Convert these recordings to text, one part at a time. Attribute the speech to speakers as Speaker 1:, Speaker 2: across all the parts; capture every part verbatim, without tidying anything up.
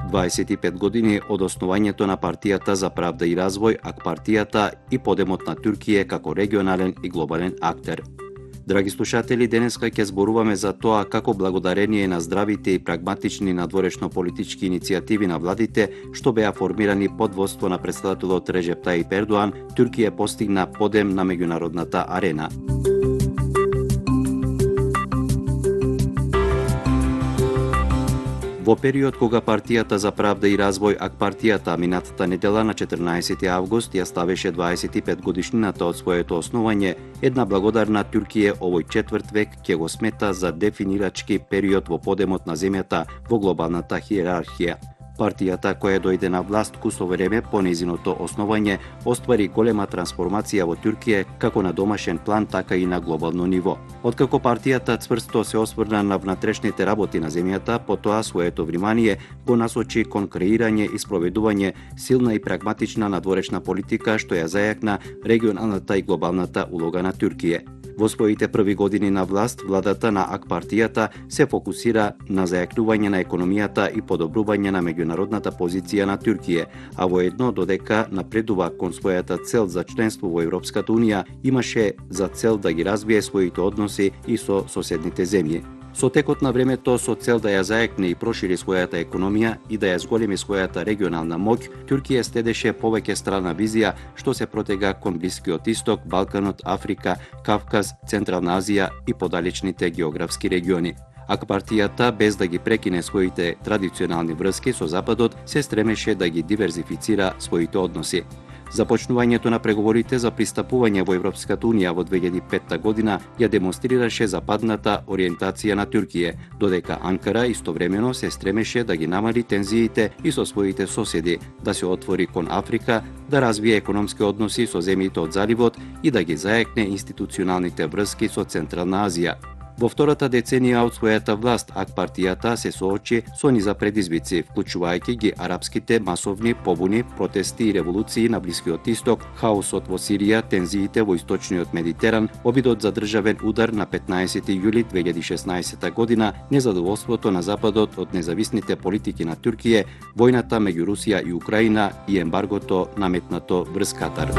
Speaker 1: дваесет и пет години од основањето на партијата за правда и развој, ак партијата и подемот на Туркија како регионален и глобален актер. Драги слушатели, денеска ќе зборуваме за тоа како благодарение на здравите и прагматични надворешно политички иницијативи на владите, што беа формирани под водство на претседателот Реджеп Тајип Ердоан, Туркија постигна подем на меѓународната арена. Во период кога партијата за правда и развој, ак партијата минатата недела на четрнаесети август ја ставеше дваесет и пет годишнината од своето основање, една благодарна Туркија овој четврт век ќе го смета за дефинирачки период во подемот на земјата во глобалната хиерархија. Партијата која дојде на власт кусо време по нејзиното основање оствари голема трансформација во Туркија како на домашен план, така и на глобално ниво. Откако партијата цврсто се осврна на внатрешните работи на земјата, потоа своето внимание го насочи кон креирање и спроведување силна и прагматична надворешна политика што ја зајакна регионалната и глобалната улога на Туркија. Во своите први години на власт, владата на ак партијата се фокусира на зајакнување на економијата и подобрување на меѓународната позиција на Туркија, а воедно додека напредува кон својата цел за членство во Европската унија, имаше за цел да ги развие своите односи и со соседните земји. Со текот на времето, со цел да ја зајакне и прошири својата економија и да ја зголеми својата регионална моќ, Туркија следеше повеќе страна визија што се протега кон Блискиот Исток, Балканот, Африка, Кавказ, Централна Азија и подалечните географски региони. Ак партијата, без да ги прекине своите традиционални врски со Западот, се стремеше да ги диверзифицира своите односи. Започнувањето на преговорите за пристапување во Европската унија во две илјади и петта година ја демонстрираше западната ориентација на Туркија, додека Анкара истовремено се стремеше да ги намали тензиите и со своите соседи, да се отвори кон Африка, да развие економски односи со земјите од заливот и да ги зајакне институционалните врски со Централна Азија. Во втората деценија од својата власт, ак партијата се соочи со низа предизвици, вклучувајќи ги арапските масовни побуни, протести и револуции на Блискиот Исток, хаосот во Сирија, тензиите во Источниот Медитеран, обидот за државен удар на петнаесети јули две илјади и шеснаесетта година, незадоволството на Западот од независните политики на Туркија, војната меѓу Русија и Украина и ембаргото наметнато врз Катар.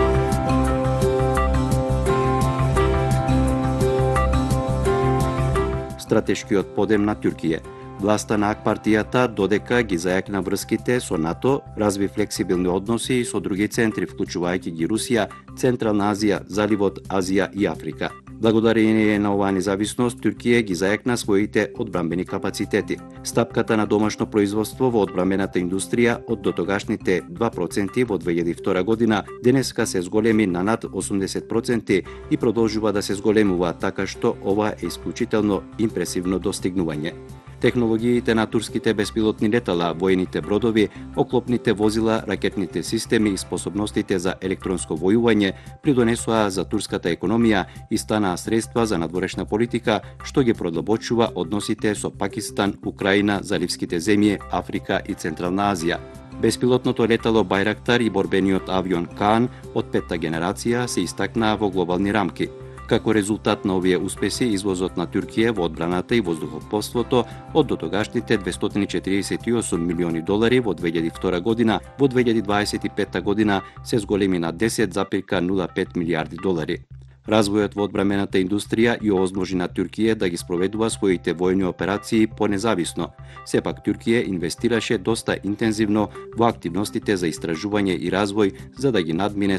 Speaker 1: Стратешкиот подем на Туркија. Власта на ак партијата додека ги зајакна врските со НАТО, разви флексибилни односи и со други центри, вклучувајќи ги Русија, Централна Азија, Заливот, Азија и Африка. Благодарение на оваа независност, Туркија ги зајакна своите одбранбени капацитети. Стапката на домашно производство во одбранбената индустрија од дотогашните два проценти во две илјади и втора година денеска се зголеми на над осумдесет проценти и продолжува да се зголемува, така што ова е исклучително импресивно достигнување. Технологиите на турските беспилотни летала, воените бродови, оклопните возила, ракетните системи и способностите за електронско војување придонесоа за турската економија и станаа средства за надворешна политика, што ги продлабочува односите со Пакистан, Украина, заливските земји, Африка и Централна Азија. Беспилотното летало Байрактар и борбениот авион Каан од петта генерација се истакнаа во глобални рамки. Како резултат на овие успеси, извозот на Туркија во одбраната и воздухопловството од дотогашните двестоти и четиридесет и осум милиони долари во две илјади и втора година, во две илјади дваесет и петта година се зголеми на десет зарез нула пет милијарди долари. Развојот во одбранбената индустрија и овозможи на Туркија да ги спроведува своите војни операции понезависно. Сепак Туркија инвестираше доста интензивно во активностите за истражување и развој за да ги надмине